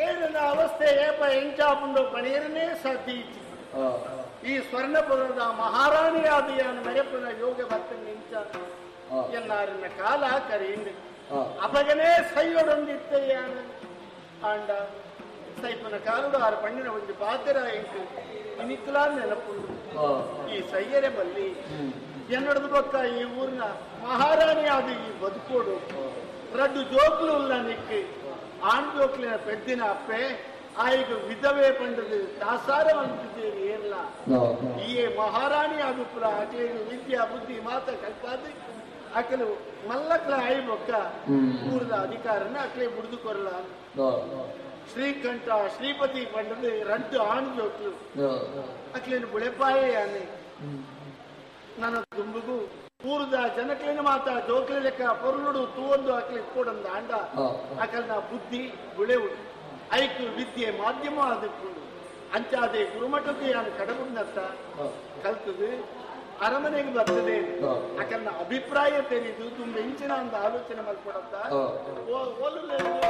ಏರಿನ ಅವಸ್ಥೆ ಏಪ ಎಂಚಾಪುಂಡು ಪಣೀರನೇ ಸಾಧ್ಯ ಇಜ್ಜಿ. ಈ ಸ್ವರ್ಣಪುರದ ಮಹಾರಾಣಿಯಾದ ಯಾನ್ ಮೆರೆಪುನ ಯೋಗ ಬರ್ತಂಡ ಇಂಚ ಎನ್ನಾರಿನ ಕಾಲ ಕರೀಂಡ್. ಅಪಗನೇ ಸೈಯೊಡೊಂದಿತ್ತೆ ಯಾನ್. ಆಂಡ ಸೈಪುನ ಕಾಲುಡು ಆರು ಪಣ್ಣಿನ ಒಂಜಿ ಪಾತೆರ ಎಂಕ್ ಇನಿಕ್ಲಾ ನೆನಪುಂಡು. ಈ ಸೈಯರೆ ಬಲ್ಲಿ, ಎನ್ನಡದು ಬೊಕ್ಕ ಈ ಊರಿನ ಮಹಾರಾಣಿ ಆದ ಈ ಬದುಕೋಡು. ರಡ್ಡು ಜೋಕ್ಲು ಉಲ್ಲ ನಿಕ್. ಆಣ್ ಜೋಕ್ಲಿನ ಪೆದ್ದಿನ ಅಪ್ಪೆ ಆಯಿಗ ವಿಧವೆ ಪಂಡದು ದಾಸಾರ ಅಂತಿದ್ದೇನೆ ಏರ್ಲ. ಈ ಮಹಾರಾಣಿ ಆದುಪ್ಪುಲ ಅಕ್ಲೆಗ್ ವಿದ್ಯಾ ಬುದ್ಧಿ ಮಾತ ಕಲ್ಪಾದ್ ಅಕಲು ಮಲ್ಲಕ್ಲ ಆಯಿ ಬೊಕ್ಕ ಊರದ ಅಧಿಕಾರನ ಅಕ್ಲೆ ಬುಡ್ದು ಕೊರ್ಲ. ಶ್ರೀಕಂಠ ಶ್ರೀಪತಿ ಪಂಡದು ರಡ್ಡು ಆಣ್ ಜೋಕ್ಲು. ಅಕ್ಲೇನು ಬುಳೆಪಾಯೆ ಯಾನೆ. ನನ್ನ ದುಂಬುಗು ಊರದ ಜನಕ್ಲೇನ ಮಾತ ಜೋಕ್ಲೆ ಲೆಕ್ಕ ಪೊರ್ಲುಡು ತೂವೊಂದು ಅಕ್ಲೆ ಇಪ್ಪೊಡಂದ ಆಂಡ ಅಕಲ್ನ ಬುದ್ಧಿ ಬುಳೆವುಡು ಐಕ್ ವಿದ್ಯೆ ಮಾಧ್ಯಮ ಆದಿಪ್ಪುಂಡು. ಅಂಚಾದೆ ಗುರುಮಠಕ್ಕೆ ಯಾನು ಕಡಬುಡ್ನತ್ತ ಕಲ್ತದು ಅರಮನೆಗೆ ಬರ್ತದೆ. ಅಕಲ್ನ ಅಭಿಪ್ರಾಯ ತೆರೆದು ತುಂಬ ಇಂಚಿನ ಒಂದು ಆಲೋಚನೆ ಮಲ್ಪಡತ್ತ.